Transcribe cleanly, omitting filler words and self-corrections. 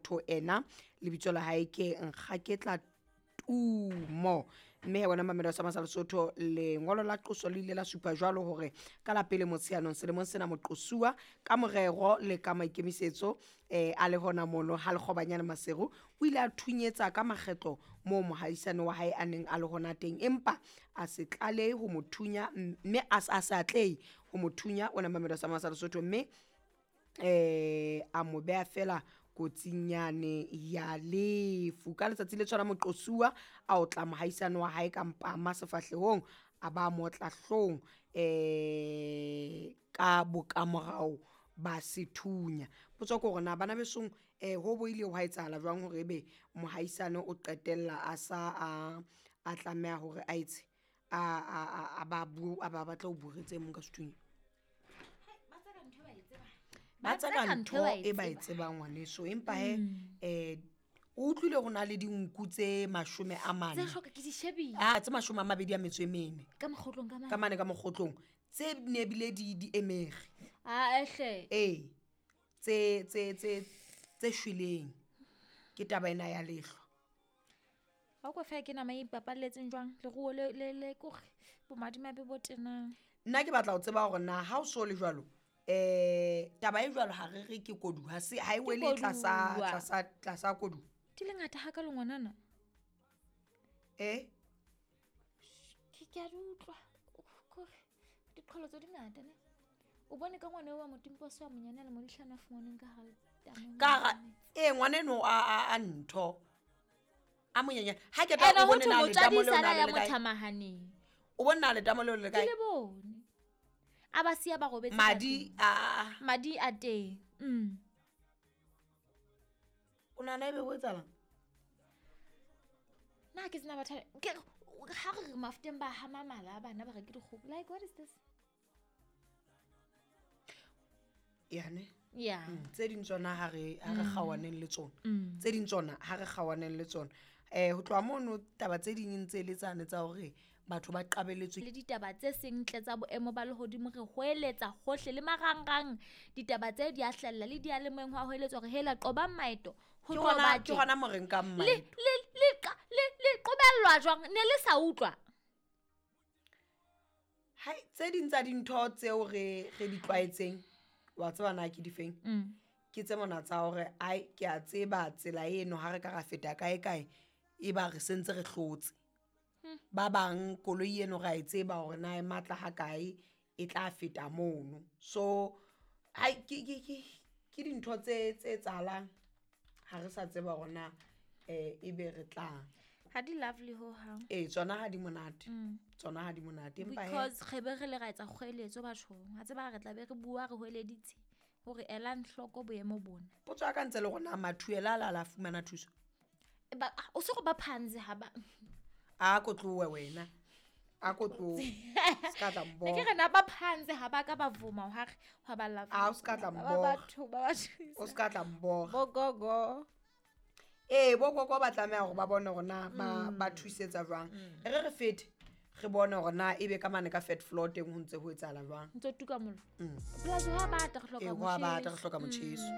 Motho ena lebitso la hae ke Nkgaketla Tumo. Mme he wena mamelo sa masa Lesotho, lengolo la qoso le ile la supa jwalo hore ka la pele Motsheanong selemong sena moqosuwa ka morero le ka maikemisetso a le hona mono ha Lekgobanyane Maseru o ile a thunyetsa ka makgetlo moo mohaisane wa hae a neng a le hona teng, empa a se tlalehe ho mo thunya, mme a se atlehe ho mo thunya wena mamelo sa masa Lesotho, mme a mo beha fela kotsing yane ya lefu. Ka letsatsi le tshwana moqosuwa a otla mohaisane wa hae ka mpama sefahlehong, a ba motla hlong ka bokamorao ba sethunya. Potso ke hore na bana besong ho bo ile hwa etsahala jwang hore ebe mohaisane o qetella a sa a tlameha hore a etse a ba batla ho buretse e mong ka sethunya. Ba tseka ntho e ba e tsebang ngwaneso, empa he o utlwile ho na le dinku tse 40 tse hloka ke di shebile, tse 24 ka mokgotlong, ka mane ka mokgotlong, tse ne bile di emere ehle tse tse tse tse shweleng ke taba ena ya lehlwa. Ha o fa ke nama e ipapalletseng jwang leruo le le le kore bomadimabe bo tenang. Nna ke batla ho tseba hore na ha o so le jwalo taba e jwalo ha re re ke kodu, ha se ha e wele tlasa kodu. Di le ngata ha ka le ngwanana. Ke a di utlwa kore diqholotso di ngata ne. O bone ka ngwana wa motimposo wa monyane le modihlana a fumaneng ka hara tamo. Ka hara ngwana eno a ntho a monyenyane. Ha ke tla o bone na le tamo leo na le kae? O bone na le tamo leo le kae? Ke le bone. A ba siya ba robetse madi a madi a teng. O nana ebe ho etsahalang? Nna ke sena batho ke ha re mafuteng ba hama mala bana ba re ke dikgopo. Like what is this? Yane yeah. Tse ding tsona ha re kgawaneng le tsona. Tse ding tsona ha re kgawaneng le tsona. Ho tloha mono taba tse ding ntse le tsane tsa hore batho ba qabeletswe le ditaba tse seng ntle tsa boemo ba lehodimo, re hoeletsa hohle le marangrang ditaba tse di a hlella le dialemoeng ho hoeletswa hore hela qoba maeto ho tloba ke hona mo re nkang maeto le qobellwa jwang ne le sa utlwa. Hai, tse ding tsa dintho tseo re di tlwaetseng wa tseba na ke difeng? Ke tse mona tsa hore ai ke a tseba tsela eno ha re ka ra feta kae kae e ba re sentse re hlotse. Ba bang koloi eno ra e tseba hore na e matla ha kae e tla feta mono. So hai ke dintho tse etsahalang ha re sa tseba hore na ebe re tla ha di lovely ho hang. Tsona ha di monate. Tsona ha di monate empa he because re be re le ra etsa kgoeletso bathong. Ha tseba re tla be re bua re hoeleditse hore elang hloko boemo bona. Potso ya ka ntse le rona mathuela la fumana thuso. Ba o se go ba phanze ha ba a ko tlowe wena a ko tlowe ska tla mbo ke re na ba phanze ha ba ka ba vuma ha re ha ba love a o ska tla mbo batho ba ba thusa o ska tla mbo bo gogo bo gogo ba tlameha hore ba bone hore na ba thusetsa jwang. Re fete re bone hore na ebe ka mane ka fat floor teng ho ntse ho etsahala jwang. Ntse tuka mollo. Plus ha ba ta re hloka motjheso. Ha ba ta re hloka motjheso.